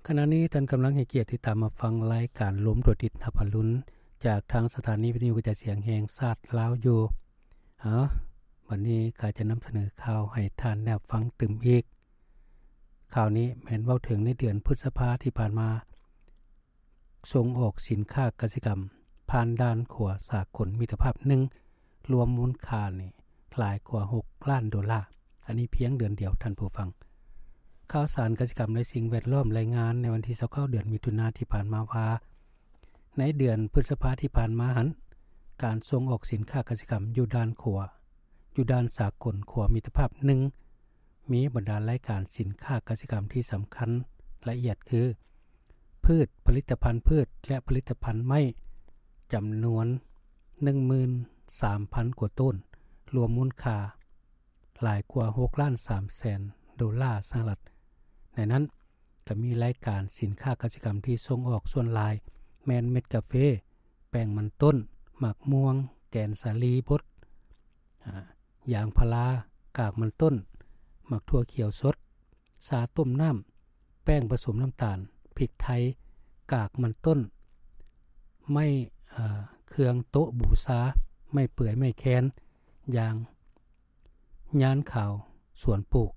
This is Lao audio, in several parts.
ຂະນະນີ້ທ່ານກຳລັງໃຫ້ກຽດຕິດຕາມຮັບຟັງລາຍການລົມຕົວຕິດຮັບອາລຸນ ຈາກທາງສະຖານີວິທະຍຸກະຈາຍສຽງແຫ່ງຊາດລາວຢູ່. ເອົາ, ບັດນີ້ຂ້າຈະນຳສະເໜີຂ່າວໃຫ້ທ່ານໄດ້ຮັບຟັງຕື່ມອີກ. ຂ່າວນີ້ແມ່ນເວົ້າເຖິງໃນເດືອນພຶດສະພາທີ່ຜ່ານມາ, ສົ່ງອອກສິນຄ້າກະສິກຳຜ່ານດ່ານຂົວສາກົນມິດຕະພາບໜຶ່ງ ລວມມູນຄ່ານີ້ຫຼາຍກວ່າຫົກລ້ານໂດລາ. ອັນນີ້ພຽງເດືອນດຽວ, ທ່ານຜູ້ຟັງ. ຂ່າວສານກະສິກຳ ແລະ ສິ່ງແວດລ້ອມ ລາຍງານໃນວັນທີຊາວເກົ້າ ເດືອນມິຖຸນາທີ່ຜ່ານມາວ່າ, ໃນເດືອນພຶດສະພາທີ່ຜ່ານມາຫັ້ນ, ການສົ່ງອອກສິນຄ້າກະສິກຳຢູ່ດ່ານຂົວ, ຢູ່ດ່ານສາກົນຂົວມິດຕະພາບໜຶ່ງ ມີບັນດາລາຍການສິນຄ້າກະສິກຳທີ່ສຳຄັນລະອຽດຄື ພືດ, ຜະລິດຕະພັນພືດ ແລະ ຜະລິດຕະພັນໄມ້ ຈຳນວນໜຶ່ງໝື່ນສາມພັນກວ່າໂຕນ, ລວມມູນຄ່າຫຼາຍກວ່າຫົກລ້ານສາມແສນໂດລາສະຫະລັດ. ໃນນັ້ນກໍມີລາຍການສິນຄ້າກະສິກຳທີ່ສົ່ງອອກສ່ວນຫຼາຍແມ່ນເມັດກາເຟ, ແປ້ງມັນຕົ້ນ, ໝາກມ່ວງ, ແກນສາລີບົດ, ອາ, ຢາງພາລາ, ກາກມັນຕົ້ນ, ໝາກຖົ່ວຂຽວສົດ, ຊາຕົ້ມນ້ຳ, ແປ້ງປະສົມນ້ຳຕານ, ພິກໄທ, ກາກມັນຕົ້ນ, ໄມ້, ເອີ, ເຄື່ອງໂຕະບູຊາ, ໄມ້ເປືອຍ, ໄມ້ແຄນ, ຢາງ, ຍານຂາວ, ສວນປູກ,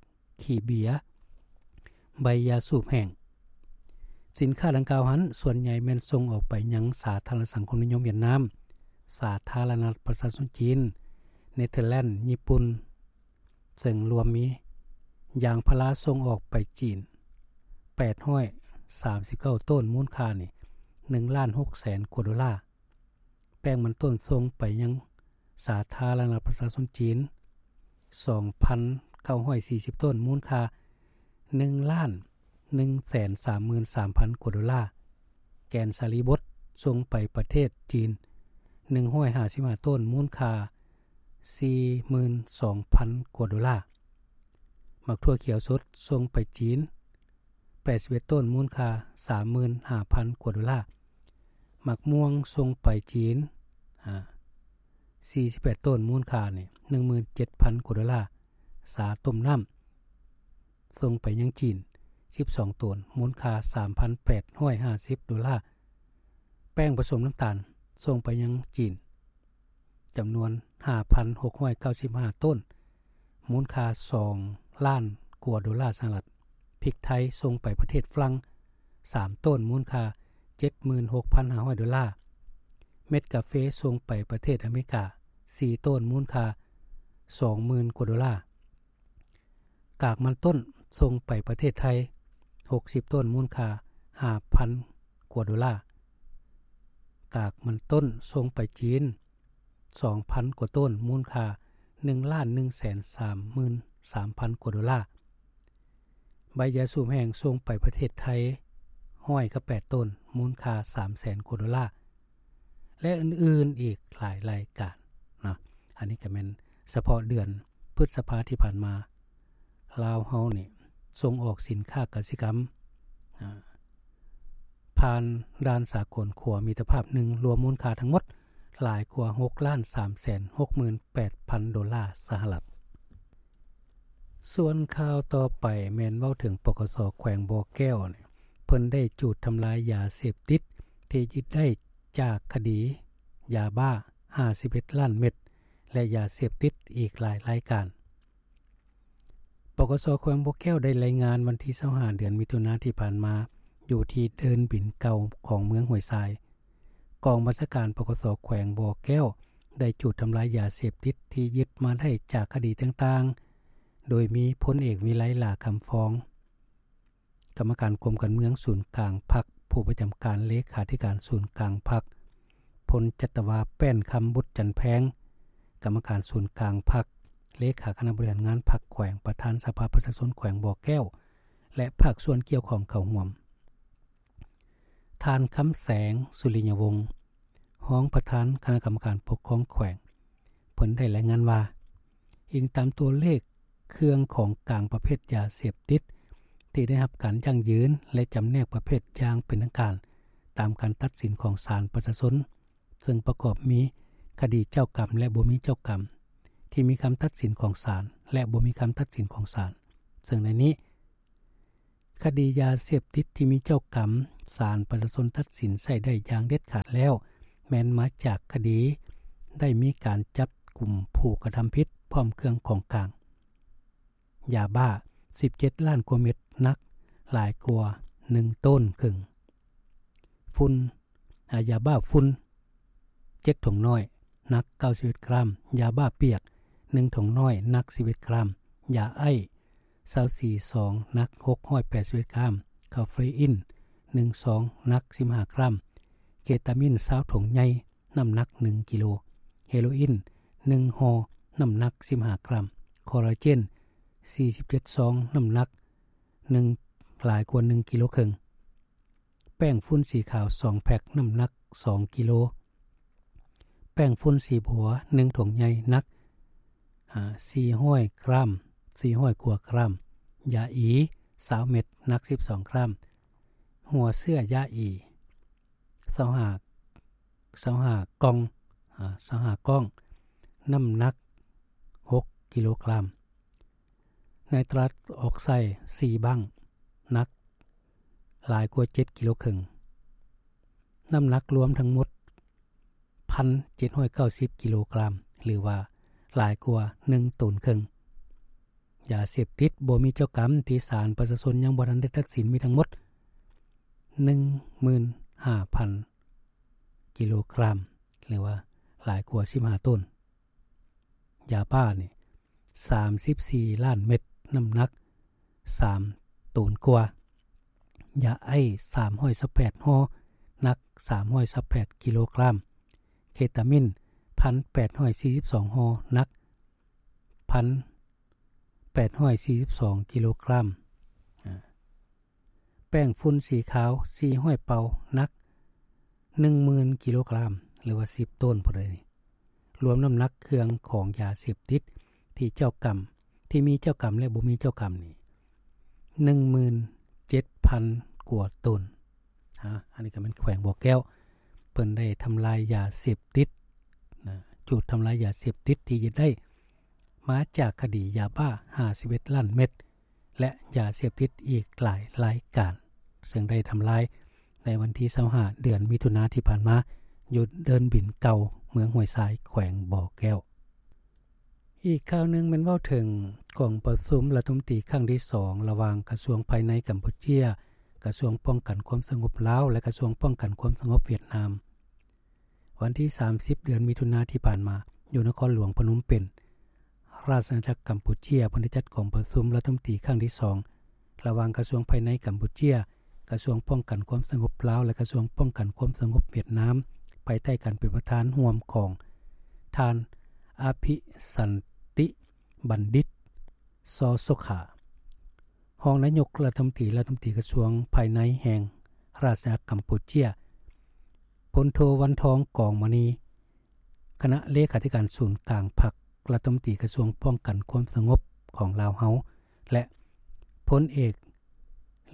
ຂີ້ເບຍ, ໃບຢາສູບແຫ້ງ. ສິນຄ້າດັ່ງກ່າວຫັ້ນ ສ່ວນໃຫຍ່ແມ່ນສົ່ງອອກໄປຍັງສາທາລະນະສັງຄົມນິຍົມຫວຽດນາມ, ສາທາລະນະລັດປະຊາຊົນຈີນ, ເນເທີແລນ, ຍີ່ປຸ່ນ, ເຊິ່ງລວມມີ ຢາງພາລາສົ່ງອອກໄປຈີນ ແປດຮ້ອຍສາມສິບເກົ້າໂຕນ, ມູນຄ່ານີ້ ໜຶ່ງລ້ານຫົກແສນກວ່າໂດລາ. ແປ້ງມັນຕົ້ນສົ່ງໄປຍັງສາທາລະນະລັດປະຊາຊົນຈີນ ສອງພັນເກົ້າຮ້ອຍສີ່ສິບໂຕນ, ມູນຄ່າ ໜຶ່ງລ້ານໜຶ່ງແສນສາມໝື່ນສາມພັນກວ່າໂດລາ. ແກນສາລີບົດສົ່ງໄປປະເທດຈີນ ໜຶ່ງຮ້ອຍຫ້າສິບຫ້າໂຕນ, ມູນຄ່າ ສີ່ໝື່ນສອງພັນກວ່າໂດລາ. ໝາກຖົ່ວຂຽວສົດສົ່ງໄປຈີນ ແປດສິບເອັດໂຕນ, ມູນຄ່າ ສາມໝື່ນຫ້າພັນກວ່າໂດລາ. ໝາກມ່ວງສົ່ງໄປຈີນ ອາ ສີ່ສິບແປດໂຕນ, ມູນຄ່ານີ້ ໜຶ່ງໝື່ນເຈັດພັນກວ່າໂດລາ. ຊາຕົ້ມນ້ຳສົ່ງໄປຍັງຈີນ ສິບສອງໂຕນ, ມູນຄ່າ ສາມພັນແປດຮ້ອຍຫ້າສິບໂດລາ. ແປ້ງປະສົມນ້ຳຕານສົ່ງໄປຍັງຈີນ ຈຳນວນ ຫ້າພັນຫົກຮ້ອຍເກົ້າສິບຫ້າໂຕນ, ມູນຄ່າ ສອງລ້ານກວ່າໂດລາສະຫະລັດ. ພິກໄທສົ່ງໄປປະເທດຝຣັ່ງ ສາມໂຕນ, ມູນຄ່າ ເຈັດໝື່ນຫົກພັນຫ້າຮ້ອຍໂດລາ. ເມັດກາເຟສົ່ງໄປປະເທດອາເມລິກາ ສີ່ໂຕນ, ມູນຄ່າ ສອງໝື່ນກວ່າໂດລາ. ກາກມັນຕົ້ນສົ່ງໄປປະເທດໄທ ຫົກສິບໂຕນ, ມູນຄ່າ ຫ້າພັນກວ່າໂດລາ. ກາກມັນຕົ້ນສົ່ງໄປຈີນ ສອງພັນກວ່າໂຕນ, ມູນຄ່າ ໜຶ່ງລ້ານໜຶ່ງແສນສາມໝື່ນສາມພັນກວ່າໂດລາ. ໃບຢາສູບແຫ້ງສົ່ງໄປປະເທດໄທ ຮ້ອຍກັບແປດໂຕນ, ມູນຄ່າ ສາມແສນກວ່າໂດລາ ແລະ ອື່ນໆອີກຫຼາຍລາຍການເນາະ. ອັນນີ້ກໍແມ່ນສະເພາະເດືອນພຶດສະພາທີ່ຜ່ານມາ, ລາວເຮົານີ້ສົ່ງອອກສິນຄ້າກະສິກຳ ອາ ຜ່ານດ່ານສາກົນຂົວມິດຕະພາບໜຶ່ງ ລວມມູນຄ່າທັງໝົດຫຼາຍກວ່າຫົກລ້ານສາມແສນຫົກໝື່ນແປດພັນໂດລາສະຫະລັດ. ສ່ວນຂ່າວຕໍ່ໄປແມ່ນເວົ້າເຖິງ ປກສ ແຂວງບໍ່ແກ້ວ ເພິ່ນໄດ້ຈູດທຳລາຍຢາເສບຕິດທີ່ຍຶດໄດ້ຈາກຄະດີຢາບ້າ ຫ້າສິບເອັດລ້ານເມັດ ແລະ ຢາເສບຕິດອີກຫຼາຍລາຍການ. ປກສ ແຂວງບໍ່ແກ້ວໄດ້ລາຍງານວັນທີຊາວຫ້າ ເດືອນມິຖຸນາທີ່ຜ່ານມາ ຢູ່ທີ່ເດີ່ນບິນເກົ່າຂອງເມືອງຫ້ວຍຊາຍ, ກອງບັນຊາການ ປກສ ແຂວງບໍ່ແກ້ວ ໄດ້ຈູດທຳລາຍຢາເສບຕິດທີ່ຍຶດມາໄດ້ຈາກຄະດີຕ່າງໆ, ໂດຍມີພົນເອກ ວິໄລ ຫຼ້າຄຳຟອງ ກຳມະການກົມການເມືອງສູນກາງພັກ, ຜູ້ປະຈຳການເລຂາທິການສູນກາງພັກ, ພົນຈັດຕະວາ ແປ້ນຄຳບຸດຈັນແພງ ກຳມະການສູນກາງພັກ, ເລຂາຄະນະບໍລິຫານງານພັກແຂວງ, ປະທານສະພາປະຊາຊົນແຂວງບໍ່ແກ້ວ ແລະ ພາກສ່ວນກ່ຽວຂ້ອງເຂົ້າຮ່ວມ. ທ່ານ ຄຳແສງ ສຸລິຍະວົງ ຮອງປະທານຄະນະກຳມະການປົກຄອງແຂວງ ເພິ່ນໄດ້ລາຍງານວ່າ, ອີງຕາມຕົວເລກເຄື່ອງຂອງກາງປະເພດຢາເສບຕິດທີ່ໄດ້ຮັບການຢັ້ງຢືນ ແລະ ຈຳແນກປະເພດຢ່າງເປັນທາງການຕາມການຕັດສິນຂອງສານປະຊາຊົນ, ເຊິ່ງປະກອບມີຄະດີເຈົ້າກຳ ແລະ ບໍ່ມີເຈົ້າກຳ, ທີ່ມີຄຳຕັດສິນຂອງສານ ແລະ ບໍ່ມີຄຳຕັດສິນຂອງສານ, ເຊິ່ງໃນນີ້ ຄະດີຢາເສບຕິດທີ່ມີເຈົ້າກຳ ສານປະຊາຊົນຕັດສິນໃຊ້ໄດ້ຢ່າງເດັດຂາດແລ້ວ ແມ່ນມາຈາກຄະດີໄດ້ມີການຈັບກຸມຜູ້ກະທຳຜິດ ພ້ອມເຄື່ອງຂອງກາງ. ຢາບ້າ ສິບເຈັດລ້ານກວ່າເມັດ ໜັກຫຼາຍກວ່າໜຶ່ງໂຕນເຄິ່ງ. ຝຸ່ນ ອາ ຢາບ້າຝຸ່ນ ເຈັດຖົງນ້ອຍ ໜັກເກົ້າສິບເອັດກຣາມ, ຢາບ້າປຽກ ໜຶ່ງຖົງນ້ອຍ ໜັກສິບເອັດກຣາມ, ຢາໄອຊ໌ ຊາວສີ່ຊອງ ໜັກຫົກຮ້ອຍແປດສິບເອັດກຣາມ, ຄາເຟອີນ ໜຶ່ງຊອງ ໜັກສິບຫ້າກຣາມ, ເຄຕາມິນ ຊາວຖົງໃຫຍ່ ນ້ຳໜັກໜຶ່ງກິໂລ, ເຮໂຣອີນ ໜຶ່ງຫໍ່ ນ້ຳໜັກສິບຫ້າກຣາມ, ຄໍລາເຈນ ສີ່ສິບເຈັດຊອງ ນ້ຳໜັກໜຶ່ງ ຫຼາຍກວ່າໜຶ່ງກິໂລເຄິ່ງ. ແປ້ງຝຸ່ນສີຂາວສອງແພັກ ນ້ຳໜັກສອງກິໂລ, ແປ້ງຝຸ່ນສີບົວໜຶ່ງຖົງໃຫຍ່ ໜັກ ອາ ສີ່ຮ້ອຍກຣາມ ສີ່ຮ້ອຍກວ່າກຣາມ, ຢາອີຊາວເມັດ ໜັກສິບສອງກຣາມ, ຫົວເຊື້ອຢາອີຊາວຫ້າ ຊາວຫ້າກ່ອງ ອາ ຊາວຫ້າກ່ອງ ນ້ຳໜັກຫົກກິໂລກຣາມ. ໄນຕຣັດອອກໄຊສີ່ບັ້ງ ໜັກຫຼາຍກວ່າເຈັດກິໂລເຄິ່ງ, ນ້ຳໜັກລວມທັງໝົດ ພັນເຈັດຮ້ອຍເກົ້າສິບກິໂລກຣາມ ຫຼືວ່າຫຼາຍກວ່າໜຶ່ງໂຕນເຄິ່ງ. ຢາເສບຕິດບໍ່ມີເຈົ້າກຳທີ່ສານປະຊາຊົນຍັງບໍ່ທັນໄດ້ຕັດສິນມີທັງໝົດ ໜຶ່ງໝື່ນຫ້າພັນກິໂລກຣາມ ຫຼືວ່າຫຼາຍກວ່າສິບຫ້າໂຕນ. ຢາບ້ານີ້ ສາມສິບສີ່ລ້ານເມັດ ນ້ຳໜັກສາມໂຕນກວ່າ, ຢາໄອຊ໌ ສາມຮ້ອຍຊາວແປດຫໍ່ ໜັກສາມຮ້ອຍຊາວແປດກິໂລກຣາມ, ເຄຕາມິນ ພັນແປດຮ້ອຍສີ່ສິບສອງຫໍ່ ໜັກພັນແປດຮ້ອຍສີ່ສິບສອງກິໂລກຣາມ. ອາ ແປ້ງຝຸ່ນສີຂາວສີ່ຮ້ອຍເປົາ ໜັກໜຶ່ງໝື່ນກິໂລກຣາມ ຫຼືວ່າສິບໂຕນພຸ້ນເດ. ລວມນ້ຳໜັກເຄື່ອງຂອງຢາເສບຕິດທີ່ເຈົ້າກຳ ທີ່ມີເຈົ້າກຳ ແລະ ບໍ່ມີເຈົ້າກຳນີ້ ໜຶ່ງໝື່ນເຈັດພັນກວ່າໂຕນ. ອາ ອັນນີ້ກໍແມ່ນແຂວງບໍ່ແກ້ວ ເພິ່ນໄດ້ທຳລາຍຢາເສບຕິດນະ, ຈູດທຳລາຍຢາເສບຕິດທີ່ຍຶດໄດ້ມາຈາກຄະດີຢາບ້າຫ້າສິບເອັດລ້ານເມັດ ແລະ ຢາເສບຕິດອີກຫຼາຍລາຍການ ເຊິ່ງໄດ້ທຳລາຍໃນວັນທີຊາວຫ້າ ເດືອນມິຖຸນາທີ່ຜ່ານມາ ຢູ່ເດີ່ນບິນເກົ່າ ເມືອງຫ້ວຍຊາຍ ແຂວງບໍ່ແກ້ວ. ອີກຂ່າວໜຶ່ງແມ່ນເວົ້າເຖິງກອງປະຊຸມລັດຖະມົນຕີຄັ້ງທີສອງ ລະຫວ່າງກະຊວງພາຍໃນກຳປູເຈຍ, ກະຊວງປ້ອງກັນຄວາມສະຫງົບລາວ ແລະ ກະຊວງປ້ອງກັນຄວາມສະຫງົບຫວຽດນາມ. ວັນທີສາມສິບ ເດືອນມິຖຸນາທີ່ຜ່ານມາ ຢູ່ນະຄອນຫຼວງພະນົມເປັນ ລາຊະອານາຈັກກຳປູເຈຍ ເພິ່ນໄດ້ຈັດກອງປະຊຸມລັດຖະມົນຕີຄັ້ງທີສອງ ລະຫວ່າງກະຊວງພາຍໃນກຳປູເຈຍ, ກະຊວງປ້ອງກັນຄວາມສະຫງົບລາວ ແລະ ກະຊວງປ້ອງກັນຄວາມສະຫງົບຫວຽດນາມ ພາຍໃຕ້ການເປັນປະທານຮ່ວມຂອງທ່ານ ອະພິສັນຕິບັນດິດ ຊອໂຊຄາ, ຮອງນາຍົກລັດຖະມົນຕີ, ລັດຖະມົນຕີກະຊວງພາຍໃນແຫ່ງລາຊະອານາຈັກກຳປູເຈຍ, ພົນໂທ ວັນທອງ ກອງມະນີ, ຄະນະເລຂາທິການສູນກາງພັກ, ລັດຖະມົນຕີກະຊວງປ້ອງກັນຄວາມສະຫງົບຂອງລາວເຮົາ ແລະ ພົນເອກ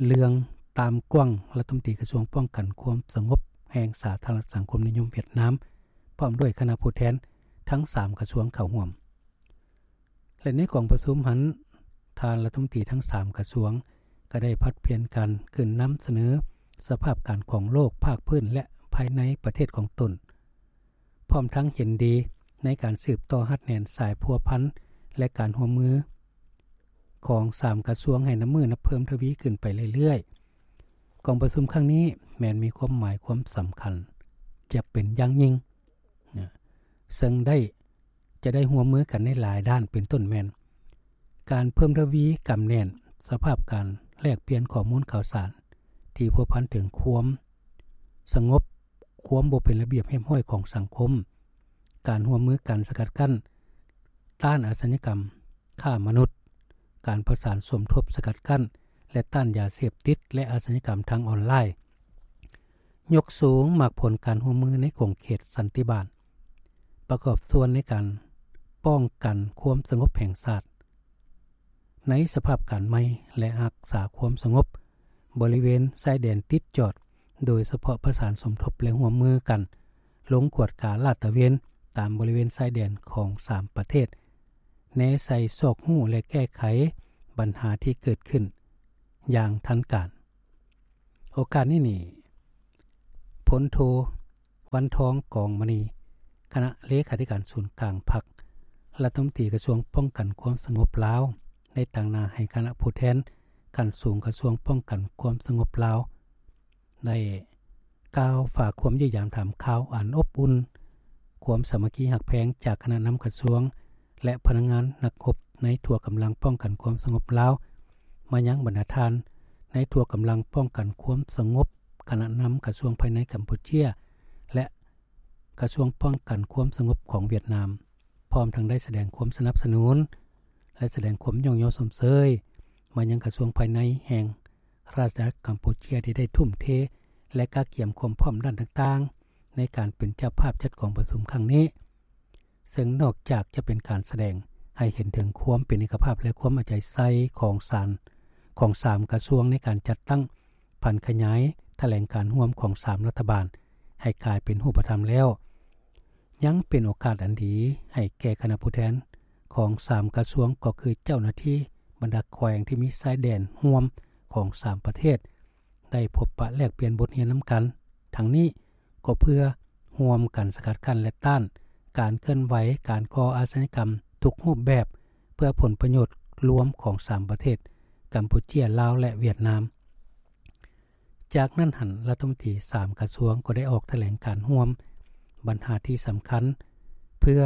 ເລື່ອງ ຕາມກວາງ, ລັດຖະມົນຕີກະຊວງປ້ອງກັນຄວາມສະຫງົບແຫ່ງສາທາລະນະລັດສັງຄົມນິຍົມຫວຽດນາມ, ພ້ອມດ້ວຍຄະນະຜູ້ແທນທັງສາມກະຊວງເຂົ້າຮ່ວມ. ແລະ ໃນກອງປະຊຸມຫັ້ນ, ທ່ານລັດຖະມົນຕີທັງສາມກະຊວງ ກໍໄດ້ຜັດປ່ຽນກັນຂຶ້ນນຳສະເໜີສະພາບການຂອງໂລກ, ພາກພື້ນ ແລະ ພາຍໃນປະເທດຂອງຕົນ, ພ້ອມທັງເຫັນດີໃນການສືບຕໍ່ຮັດແໜ້ນສາຍພົວພັນ ແລະ ການຮ່ວມມືຂອງສາມກະຊວງໃຫ້ນັບມື້ນັບເພີ່ມທະວີຂຶ້ນໄປເລື້ອຍໆ. ກອງປະຊຸມຄັ້ງນີ້ແມ່ນມີຄວາມໝາຍຄວາມສຳຄັນຈະເປັນຢ່າງຍິ່ງ ນະ ເຊິ່ງໄດ້ ຈະໄດ້ຮ່ວມມືກັນໃນຫຼາຍດ້ານ ເປັນຕົ້ນແມ່ນ ການເພີ່ມທະວີກຳແໜ້ນສະພາບການແລກປ່ຽນຂໍ້ມູນຂ່າວສານທີ່ພົວພັນເຖິງຄວາມສະຫງົບ, ຄວາມບໍ່ເປັນລະບຽບຮຽບຮ້ອຍຂອງສັງຄົມ, ການຮ່ວມມືກັນສະກັດກັ້ນ ຕ້ານອາຊະຍາກຳ, ຄ້າມະນຸດ, ການປະສານສົມທົບສະກັດກັ້ນ ແລະ ຕ້ານຢາເສບຕິດ ແລະ ອາຊະຍາກຳທາງອອນລາຍ. ຍົກສູງໝາກຜົນການຮ່ວມມືໃນຂົງເຂດສັນຕິບານ, ປະກອບສ່ວນໃນການປ້ອງກັນຄວາມສະຫງົບແຫ່ງຊາດ ໃນສະພາບການໃໝ່ ແລະ ຮັກສາຄວາມສະຫງົບບໍລິເວນຊາຍແດນຕິດຈອດ, ໂດຍສະເພາະປະສານສົມທົບ ແລະ ຮ່ວມມືກັນລົງກວດກາລາດຕະເວນຕາມບໍລິເວນຊາຍແດນຂອງສາມປະເທດ, ແນໃສ່ຊອກຮູ້ ແລະ ແກ້ໄຂບັນຫາທີ່ເກີດຂຶ້ນ ຢ່າງທັນການ. ໂອກາດນີ້ນີ້ ພົນໂທ ວັນທອງ ກອງມະນີ ຄະນະເລຂາທິການສູນກາງພັກ, ລັດຖະມົນຕີກະຊວງປ້ອງກັນຄວາມສະຫງົບລາວ ໄດ້ຕາງໜ້າໃຫ້ຄະນະຜູ້ແທນຂັ້ນສູງກະຊວງປ້ອງກັນຄວາມສະຫງົບລາວ ໄດ້ກ່າວຝາກຄວາມຢ້ຽມຢາມຖາມຂ່າວອັນອົບອຸ່ນ, ຄວາມສາມັກຄີຮັກແພງຈາກຄະນະນຳກະຊວງ ແລະ ພະນັກງານນັກຮົບໃນທົ່ວກຳລັງປ້ອງກັນຄວາມສະຫງົບລາວ ມາຍັງບັນດາທ່ານໃນທົ່ວກຳລັງປ້ອງກັນຄວາມສະຫງົບ, ຄະນະນຳກະຊວງພາຍໃນກຳປູເຈຍ ແລະ ກະຊວງປ້ອງກັນຄວາມສະຫງົບຂອງຫວຽດນາມ, ພ້ອມທັງໄດ້ສະແດງຄວາມສະໜັບສະໜູນ ແລະ ສະແດງຄວາມຍ້ອງຍໍຊົມເຊີຍມາຍັງກະຊວງພາຍໃນແຫ່ງ ລາຊະອານາຈັກກຳປູເຈຍ ທີ່ໄດ້ທຸ່ມເທ ແລະ ກະກຽມຄວາມພ້ອມດ້ານຕ່າງໆ ໃນການເປັນເຈົ້າພາບຈັດກອງປະຊຸມຄັ້ງນີ້, ເຊິ່ງນອກຈາກຈະເປັນການສະແດງໃຫ້ເຫັນເຖິງຄວາມເປັນເອກະພາບ ແລະ ຄວາມເອົາໃຈໃສ່ຂອງສານ ຂອງສາມກະຊວງໃນການຈັດຕັ້ງຜັນຂະຫຍາຍຖະແຫຼງການຮ່ວມຂອງສາມລັດຖະບານໃຫ້ກາຍເປັນຮູບປະທຳແລ້ວ, ຍັງເປັນໂອກາດອັນດີໃຫ້ແກ່ຄະນະຜູ້ແທນຂອງສາມກະຊວງ ກໍຄືເຈົ້າໜ້າທີ່ບັນດາແຂວງທີ່ມີຊາຍແດນຮ່ວມຂອງສາມປະເທດ ໄດ້ພົບປະແລກປ່ຽນບົດຮຽນນຳກັນ. ທັງນີ້ກໍເພື່ອຮ່ວມກັນສະກັດກັ້ນ ແລະ ຕ້ານການເຄື່ອນໄຫວການກໍ່ອາຊະຍາກຳທຸກຮູບແບບ ເພື່ອຜົນປະໂຫຍດລວມຂອງສາມປະເທດ ກຳປູເຈຍ, ລາວ ແລະ ຫວຽດນາມ. ຈາກນັ້ນຫັ້ນ ລັດຖະມົນຕີສາມກະຊວງກໍໄດ້ອອກຖະແຫຼງການຮ່ວມບັນຫາທີ່ສຳຄັນ ເພື່ອ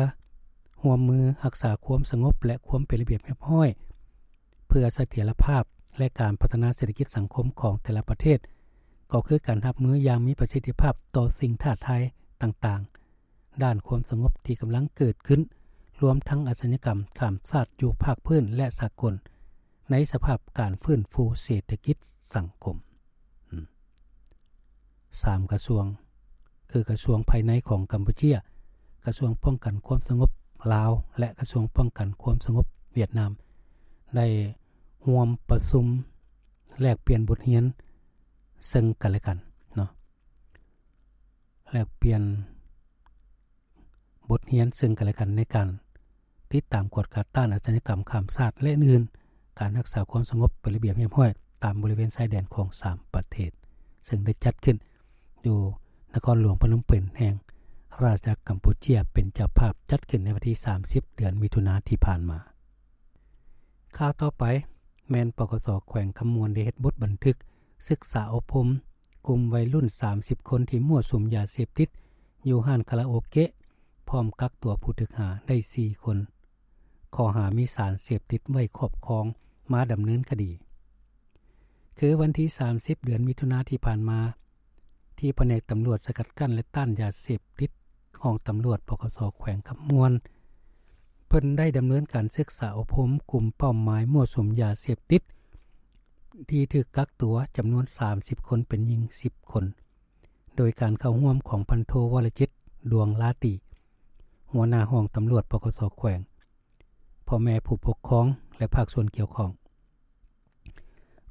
ຮ່ວມມືຮັກສາຄວາມສະຫງົບ ແລະ ຄວາມເປັນລະບຽບຮຽບຮ້ອຍ ເພື່ອສະຖຽນລະພາບ ແລະ ການພັດທະນາເສດຖະກິດສັງຄົມຂອງແຕ່ລະປະເທດ, ກໍຄືການຮັບມືຢ່າງມີປະສິດທິພາບຕໍ່ສິ່ງທ້າທາຍຕ່າງໆ ດ້ານຄວາມສະຫງົບທີ່ກຳລັງເກີດຂຶ້ນ, ລວມທັງອາຊະຍາກຳຂ້າມຊາດຢູ່ພາກພື້ນ ແລະ ສາກົນ ໃນສະພາບການຟື້ນຟູເສດຖະກິດສັງຄົມ. ອືມ ສາມກະຊວງ ຄືກະຊວງພາຍໃນຂອງກຳປູເຈຍ, ກະຊວງປ້ອງກັນຄວາມສະຫງົບລາວ ແລະ ກະຊວງປ້ອງກັນຄວາມສະຫງົບຫວຽດນາມ ໄດ້ຮ່ວມປະຊຸມແລກປ່ຽນບົດຮຽນເຊິ່ງກັນ ແລະ ກັນເນາະ. ແລກປ່ຽນບົດຮຽນເຊິ່ງກັນ ແລະ ກັນ ໃນການຕິດຕາມກວດກາຕ້ານອາຊະຍາກຳຂ້າມຊາດ ແລະ ອື່ນໆ, ການຮັກສາຄວາມສະຫງົບເປັນລະບຽບຮຽບຮ້ອຍຕາມບໍລິເວນຊາຍແດນຂອງສາມປະເທດ, ເຊິ່ງໄດ້ຈັດຂຶ້ນຢູ່ນະຄອນຫຼວງພະນົມເປັນ ແຫ່ງລາຊະອານາຈັກກຳປູເຈຍເປັນເຈົ້າພາບ, ຈັດຂຶ້ນໃນວັນທີສາມສິບ ເດືອນມິຖຸນາທີ່ຜ່ານມາ. ຂ່າວຕໍ່ໄປແມ່ນ ປກສ ແຂວງຄຳມ່ວນ ໄດ້ເຮັດບົດບັນທຶກສຶກສາອົບຮົມກຸ່ມໄວລຸ້ນສາມສິບຄົນທີ່ມົ້ວສຸມຢາເສບຕິດຢູ່ຮ້ານຄາຣາໂອເກະ, ພ້ອມກັກຕົວຜູ້ຖືກຫາໄດ້ສີ່ຄົນ ຂໍ້ຫາມີສານເສບຕິດໄວ້ຄອບຄອງ ມາດຳເນີນຄະດີ. ຄືວັນທີສາມສິບ ເດືອນມິຖຸນາທີ່ຜ່ານມາ, ທີ່ພະແນກຕຳຫຼວດສະກັດກັ້ນ ແລະ ຕ້ານຢາເສບຕິດ ຫ້ອງຕຳຫຼວດ ປກສ ແຂວງຄຳມ່ວນ ເພິ່ນໄດ້ດຳເນີນການສຶກສາອົບຮົມກຸ່ມເປົ້າໝາຍມົ້ວສຸມຢາເສບຕິດ ທີ່ຖືກກັກຕົວຈຳນວນສາມສິບຄົນ ເປັນຍິງສິບຄົນ ໂດຍການເຂົ້າຮ່ວມຂອງພັນໂທ ວໍລະຈິດ ດວງລາຕີ ຫົວໜ້າຫ້ອງຕຳຫຼວດ ປກສ ແຂວງ, ພໍ່ແມ່ຜູ້ປົກຄອງ ແລະ ພາກສ່ວນກ່ຽວຂ້ອງ.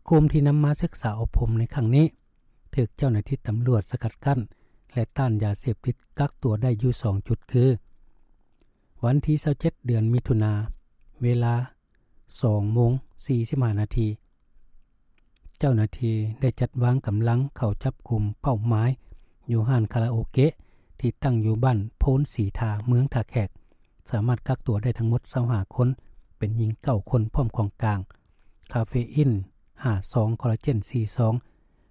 ກຸ່ມທີ່ນຳມາສຶກສາອົບຮົມໃນຄັ້ງນີ້ ຖືກເຈົ້າໜ້າທີ່ຕຳຫຼວດສະກັດກັ້ນ ແລະ ຕ້ານຢາເສບຕິດກັກຕົວໄດ້ຢູ່ສອງຈຸດ ຄື ວັນທີຊາວເຈັດ ເດືອນມິຖຸນາ, ເວລາສອງໂມງສີ່ສິບຫ້ານາທີ, ເຈົ້າໜ້າທີ່ໄດ້ຈັດວາງກຳລັງເຂົ້າຈັບກຸມເປົ້າໝາຍຢູ່ຮ້ານຄາຣາໂອເກະ ທີ່ຕັ້ງຢູ່ບ້ານໂພນສີທາ ເມືອງທ່າແຂກ, ສາມາດກັກຕົວໄດ້ທັງໝົດຊາວຫ້າຄົນ, ເປັນຍິງເກົ້າຄົນ, ພ້ອມຂອງກາງ ຄາເຟອິນຫ້າຊອງ, ຄໍລາເຈນສີ່ຊອງ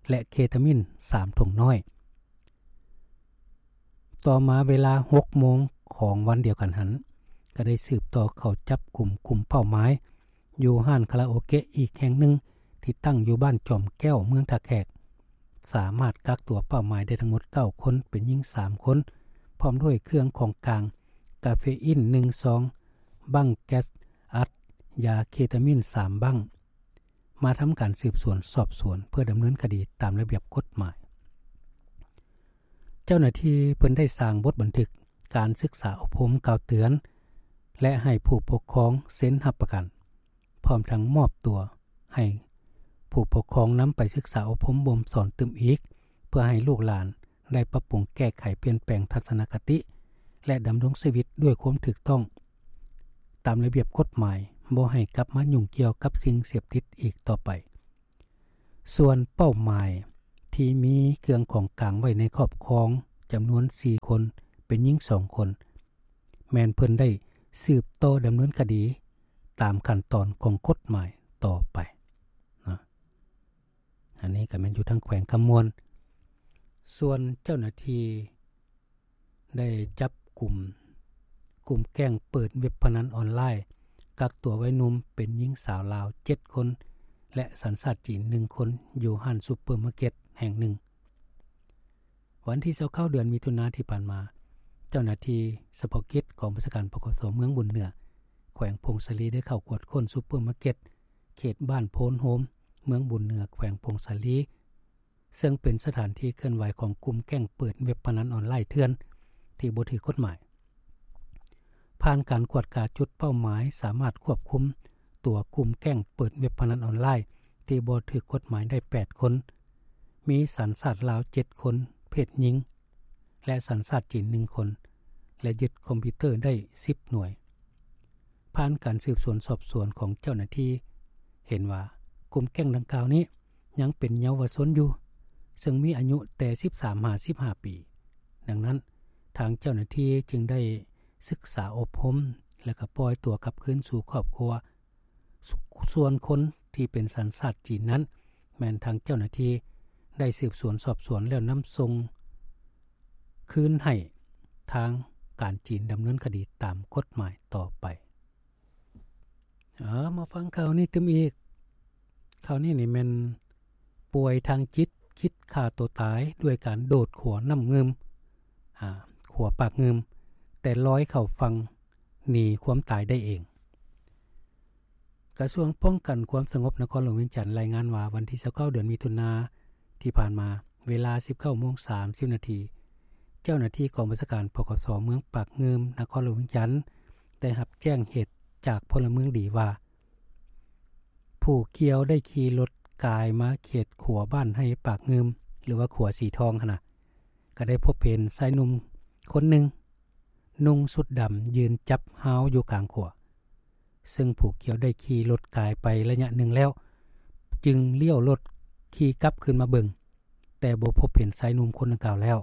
ແລະ ເຄຕາມິນສາມຖົງນ້ອຍ. ຕໍ່ມາເວລາຫົກໂມງຂອງວັນດຽວກັນຫັ້ນ, ກໍໄດ້ສືບຕໍ່ເຂົ້າຈັບກຸມກຸ່ມເປົ້າໝາຍ ຢູ່ຮ້ານຄາຣາໂອເກະອີກແຫ່ງໜຶ່ງ ທີ່ຕັ້ງຢູ່ບ້ານຈອມແກ້ວ ເມືອງທ່າແຂກ, ສາມາດກັກຕົວເປົ້າໝາຍໄດ້ທັງໝົດເກົ້າຄົນ, ເປັນຍິງສາມຄົນ, ພ້ອມດ້ວຍເຄື່ອງຂອງກາງ ກາເຟອິນໜຶ່ງຊອງ, ບັ້ງແກັສອັດ, ຢາເຄຕາມິນສາມບັ້ງ, ມາທຳການສືບສວນສອບສວນ ເພື່ອດຳເນີນຄະດີຕາມລະບຽບກົດໝາຍ. ເຈົ້າໜ້າທີ່ເພິ່ນໄດ້ສ້າງບົດບັນທຶກການສຶກສາອົບຮົມກ່າວເຕືອນ ແລະ ໃຫ້ຜູ້ປົກຄອງເຊັນຮັບປະກັນ, ພ້ອມທັງມອບຕົວໃຫ້ຜູ້ປົກຄອງນຳໄປສຶກສາອົບຮົມບົ່ມສອນຕື່ມອີກ, ເພື່ອໃຫ້ລູກຫຼານໄດ້ປັບປຸງແກ້ໄຂປ່ຽນແປງທັດສະນະຄະຕິ ແລະ ດຳລົງຊີວິດດ້ວຍຄວາມຖືກຕ້ອງຕາມລະບຽບກົດໝາຍ, ບໍ່ໃຫ້ກັບມາຫຍຸ້ງກ່ຽວກັບສິ່ງເສບຕິດອີກຕໍ່ໄປ. ສ່ວນເປົ້າໝາຍທີ່ມີເຄື່ອງຂອງກາງໄວ້ໃນຄອບຄອງຈຳນວນສີ່ຄົນ ເປັນຍິງສອງຄົນ ແມ່ນເພິ່ນໄດ້ສືບຕໍ່ດຳເນີນຄະດີຕາມຂັ້ນຕອນຂອງກົດໝາຍຕໍ່ໄປນະ. ອັນນີ້ກໍແມ່ນຢູ່ທາງແຂວງຄຳມ່ວນ. ສ່ວນເຈົ້າໜ້າທີ່ໄດ້ຈັບກຸມ ກຸ່ມແກ້ງເປີດເວັບພະນັນອອນລາຍ ກັກຕົວໄວໜຸ່ມເປັນຍິງສາວລາວເຈັດຄົນ ແລະ ສັນຊາດຈີນໜຶ່ງຄົນ ຢູ່ຮ້ານຊຸບເປີມາເກັດແຫ່ງໜຶ່ງ. ວັນທີຊາວເກົ້າ ເດືອນມິຖຸນາທີ່ຜ່ານມາ, ເຈົ້າໜ້າທີ່ສະເພາະກິດກອງບັນຊາການ ປກສ ເມືອງບຸນເໜືອ ແຂວງຜົ້ງສາລີ ໄດ້ເຂົ້າກວດຄົ້ນຊຸບເປີມາເກັດ ເຂດບ້ານໂພນໂຮມ ເມືອງບຸນເໜືອ ແຂວງຜົ້ງສາລີ ເຊິ່ງເປັນສະຖານທີ່ເຄື່ອນໄຫວຂອງກຸ່ມແກ້ງເປີດເວັບພະນັນອອນລາຍເຖື່ອນທີ່ບໍ່ຖືກກົດໝາຍ. ຜ່ານການກວດກາຈຸດເປົ້າໝາຍ ສາມາດຄວບຄຸມຕົວກຸ່ມແກ້ງເປີດເວັບພະນັນອອນລາຍທີ່ບໍ່ຖືກກົດໝາຍໄດ້ແປດຄົນ, ມີສັນຊາດລາວເຈັດຄົນ ເພດຍິງ ແລະ ສັນຊາດຈີນໜຶ່ງຄົນ ແລະ ຍຶດຄອມພິວເຕີໄດ້ສິບໜ່ວຍ. ຜ່ານການສືບສວນສອບສວນຂອງເຈົ້າໜ້າທີ່ ເຫັນວ່າກຸ່ມແກ້ງດັ່ງກ່າວນີ້ຍັງເປັນເຍົາວະຊົນຢູ່ ເຊິ່ງມີອາຍຸແຕ່ສິບສາມຫາສິບຫ້າປີ. ດັ່ງນັ້ນ, ທາງເຈົ້າໜ້າທີ່ຈຶ່ງໄດ້ສຶກສາອົບຮົມ ແລະ ກໍປ່ອຍຕົວກັບຄືນສູ່ຄອບຄົວ. ສ- ສ່ວນຄົນທີ່ເປັນສັນຊາດຈີນນັ້ນ ແມ່ນທາງເຈົ້າໜ້າທີ່ໄດ້ສືບສວນສອບສວນແລ້ວນຳສົ່ງຄືນໃຫ້ທາງການຈີນດຳເນີນຄະດີຕາມກົດໝາຍຕໍ່ໄປ. ເອົາ ມາຟັງຂ່າວນີ້ຕື່ມອີກ. ຂ່າວນີ້ນີ້ແມ່ນປ່ວຍທາງຈິດ ຄິດຂ້າຕົວຕາຍດ້ວຍການໂດດຂົວນ້ຳງື່ມ ອາ ຂົວປາກງື່ມ ແຕ່ລອຍເຂົ້າຝັ່ງໜີຄວາມຕາຍໄດ້ເອງ. ກະຊວງປ້ອງກັນຄວາມສະຫງົບນະຄອນຫຼວງວຽງຈັນລາຍງານວ່າ ວັນທີຊາວເກົ້າ ເດືອນມິຖຸນາທີ່ຜ່ານມາ ເວລາສິບເກົ້າໂມງສາມສິບນາທີ ເຈົ້າໜ້າທີ່ກອງບັນຊາການ ປກສ ເມືອງປາກງື່ມ ນະຄອນຫຼວງວຽງຈັນ ໄດ້ຮັບແຈ້ງເຫດຈາກພົນລະເມືອງດີວ່າ ຜູ້ກ່ຽວໄດ້ຂີ່ລົດກາຍມາເຂດຂົວບ້ານໄຮ່ປາກງື່ມ ຫຼືວ່າຂົວສີທອງຫັ້ນນະ ກໍໄດ້ພົບເຫັນຊາຍໜຸ່ມຄົນໜຶ່ງ ນຸ່ງຊຸດດຳຢືນຈັບຮາວຢູ່ກາງຂົວ, ເຊິ່ງຜູ້ກ່ຽວໄດ້ຂີ່ລົດກາຍໄປໄລຍະໜຶ່ງແລ້ວ ຈຶ່ງລ້ຽວລົດຂີ່ກັບຄືນມາເບິ່ງ, ແຕ່ບໍ່ພົບເຫັນຊາຍໜຸ່ມຄົນດັ່ງກ່າວແລ້ວ,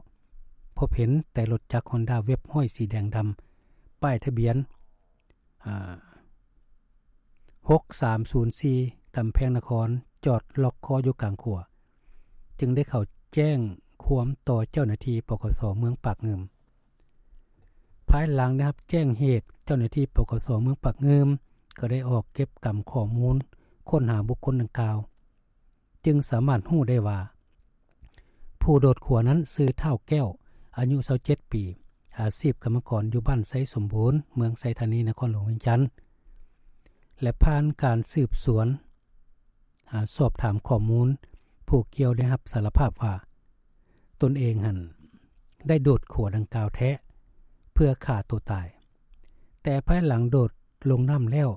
ພົບເຫັນແຕ່ລົດຈັກຮອນດ້າເວັບຮ້ອຍສີແດງດຳ ປ້າຍທະບຽນ ອາ ຫົກສາມສູນສີ່ ກຳແພງນະຄອນ ຈອດລັອກຄໍຢູ່ກາງຂົວ, ຈຶ່ງໄດ້ເຂົ້າແຈ້ງຄວາມຕໍ່ເຈົ້າໜ້າທີ່ ປກສ ເມືອງປາກງື່ມ. ພາຍຫຼັງໄດ້ຮັບແຈ້ງເຫດ, ເຈົ້າໜ້າທີ່ ປກສ ເມືອງປາກງື່ມ ກໍໄດ້ອອກເກັບກຳຂໍ້ມູນຄົ້ນຫາບຸກຄົນດັ່ງກ່າວ, ຈຶ່ງສາມາດຮູ້ໄດ້ວ່າ ຜູ້ໂດດຂົວນັ້ນຊື່ທ້າວແກ້ວ ອາຍຸຊາວເຈັດປີ, ອາຊີບກຳມະກອນຢູ່ບ້ານໄຊສົມບູນ ເມືອງໄຊທານີ ນະຄອນຫຼວງວຽງຈັນ ແລະ ຜ່ານການສືບສວນ ອາ ສອບຖາມຂໍ້ມູນ, ຜູ້ກ່ຽວໄດ້ຮັບສາລະພາບວ່າ ຕົນເອງຫັ້ນໄດ້ໂດດຂົວດັ່ງກ່າວແທ້ ເພື່ອຂ້າຕົວຕາຍ, ແຕ່ພາຍຫຼັງໂດດລົງນ້ຳແລ້ວ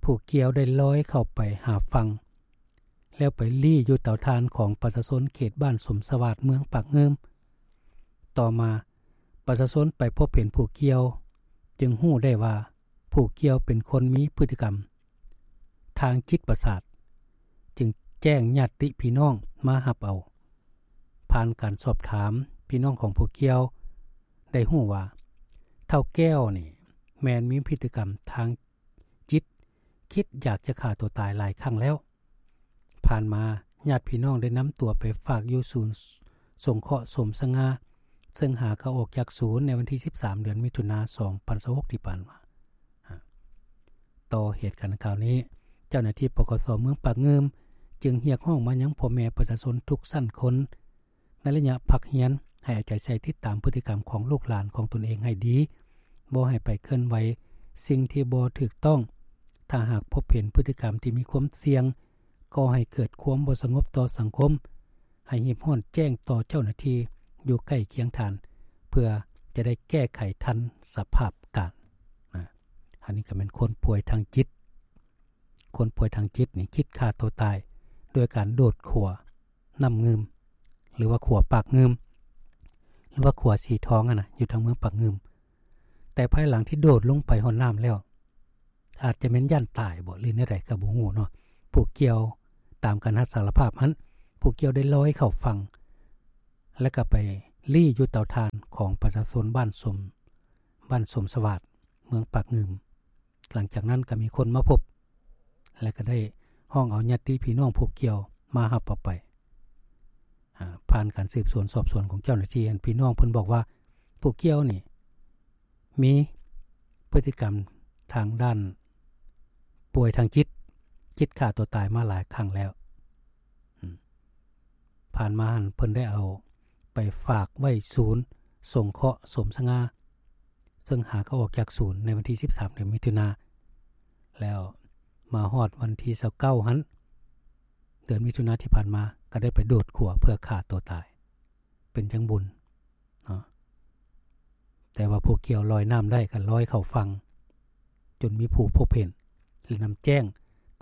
ຜູ້ກ່ຽວໄດ້ລອຍເຂົ້າໄປຫາຝັ່ງ ແລ້ວໄປລີ້ຢູ່ເຕົາຖ່ານຂອງປະຊາຊົນເຂດບ້ານສົມສະຫວາດ ເມືອງປາກງື່ມ. ຕໍ່ມາ ປະຊາຊົນໄປພົບເຫັນຜູ້ກ່ຽວ ຈຶ່ງຮູ້ໄດ້ວ່າຜູ້ກ່ຽວເປັນຄົນມີພຶດຕິກຳທາງຈິດປະສາດ, ຈຶ່ງແຈ້ງຍາດຕິພີ່ນ້ອງມາຮັບເອົາ. ຜ່ານການສອບຖາມພີ່ນ້ອງຂອງຜູ້ກ່ຽວ ໄດ້ຮູ້ວ່າ ທ້າວແກ້ວນີ້ແມ່ນມີພຶດຕິກຳທາງ ຈິດ, ຄິດຢາກຈະຂ້າຕົວຕາຍຫຼາຍຄັ້ງແລ້ວ. ຜ່ານມາ ຍາດພີ່ນ້ອງໄດ້ນຳຕົວໄປຝາກຢູ່ສູນສົງເຄາະສົມສະຫງ່າ, ເຊິ່ງຫາກໍອອກຈາກສູນໃນວັນທີສິບສາມ ເດືອນມິຖຸນາ ສອງພັນຊາວຫົກ ທີ່ຜ່ານມາ. ຕໍ່ເຫດການດັ່ງກ່າວນີ້, ເຈົ້າໜ້າທີ່ ປກສ ເມືອງປາກງື່ມ ຈຶ່ງຮຽກຮ້ອງມາຍັງພໍ່ແມ່ປະຊາຊົນທຸກຊັ້ນຄົນ ໃນໄລຍະພັກຮຽນ ໃຫ້ເອົາໃຈໃສ່ຕິດຕາມພຶດຕິກຳຂອງລູກຫຼານຂອງຕົນເອງໃຫ້ດີ, ບໍ່ໃຫ້ໄປເຄື່ອນໄຫວສິ່ງທີ່ບໍ່ຖືກຕ້ອງ. ຖ້າຫາກພົບເຫັນພຶດຕິກຳທີ່ມີຄວາມສ່ຽງ ກໍ່ໃຫ້ເກີດຄວາມບໍ່ສະຫງົບຕໍ່ສັງຄົມ, ໃຫ້ຮີບຮ້ອນແຈ້ງຕໍ່ເຈົ້າໜ້າທີ່ຢູ່ໃກ້ຄຽງທ່ານ ເພື່ອຈະໄດ້ແກ້ໄຂທັນສະພາບການ. ນະ ອັນນີ້ກໍແມ່ນຄົນປ່ວຍທາງຈິດ, ຄົນປ່ວຍທາງຈິດນີ້ຄິດຂ້າຕົວຕາຍໂດຍການໂດດຂົວ ນ້ຳງື່ມ ຫຼືວ່າຂົວປາກງື່ມ ຫຼືວ່າຂົວສີທອງຫັ້ນນະ ຢູ່ທາງເມືອງປາກງື່ມ. ແຕ່ພາຍຫຼັງທີ່ໂດດລົງໄປຮອດນ້ຳແລ້ວ ອາດຈະແມ່ນຢ້ານຕາຍບໍ ຫຼືແນວໃດກໍບໍ່ຮູ້ເນາະ, ຜູ້ກ່ຽວ ຕາມການຮັບສາລະພາບຫັ້ນ ຜູ້ກ່ຽວໄດ້ລອຍເຂົ້າຝັ່ງ ແລະກໍໄປລີ້ຢູ່ເຕົາຖ່ານຂອງປະຊາຊົນບ້ານສົມ ບ້ານສົມສະຫວາດ ເມືອງປາກງື່ມ. ຫຼັງຈາກນັ້ນກໍມີຄົນມາພົບ ແລະກໍໄດ້ຮ້ອງເອົາຍາດຕິພີ່ນ້ອງຜູ້ກ່ຽວມາຮັບເອົາໄປ. ອາ ຜ່ານການສືບສວນສອບສວນຂອງເຈົ້າໜ້າທີ່ຫັ້ນ ພີ່ນ້ອງເພິ່ນບອກວ່າ ຜູ້ກ່ຽວນີ້ມີພຶດຕິກຳທາງດ້ານປ່ວຍທາງຈິດ ຄິດຂ້າຕົວຕາຍມາຫຼາຍຄັ້ງແລ້ວ. ອາ ຜ່ານມາຫັ້ນເພິ່ນໄດ້ເອົາໄປຝາກໄວ້ສູນສົງເຄາະສົມສະຫງ່າ ເຊິ່ງຫາກໍອອກຈາກສູນໃນວັນທີສິບສາມ ເດືອນມິຖຸນາ ແລ້ວມາຮອດວັນທີຊາວເກົ້າຫັ້ນ ເດືອນມິຖຸນາທີ່ຜ່ານມາ ກໍໄດ້ໄປໂດດຂົວເພື່ອຂ້າຕົວຕາຍ ເປັນຈັ່ງບຸນເນາະ. ແຕ່ວ່າຜູ້ກ່ຽວລອຍນ້ຳໄດ້ກໍລອຍເຂົ້າຝັ່ງ ຈົນມີຜູ້ພົບເຫັນ ແລະນຳແຈ້ງ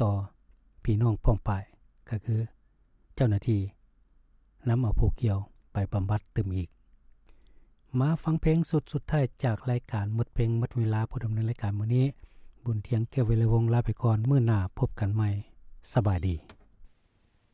ຕໍ່ພີ່ນ້ອງປ້ອງປາຍ ກໍຄືເຈົ້າໜ້າທີ່ນຳເອົາຜູ້ກ່ຽວໄປບຳບັດຕື່ມອີກ. ມາຟັງເພງຊຸດສຸດທ້າຍຈາກລາຍການໝົດເພງໝົດເວລາ. ຜູ້ດຳເນີນລາຍການມື້ນີ້ ບຸນທຽງ ແກ້ວວິໄລວົງ ລາໄປກ່ອນ. ມື້ໜ້າພົບກັນໃໝ່. ສະບາຍດີ.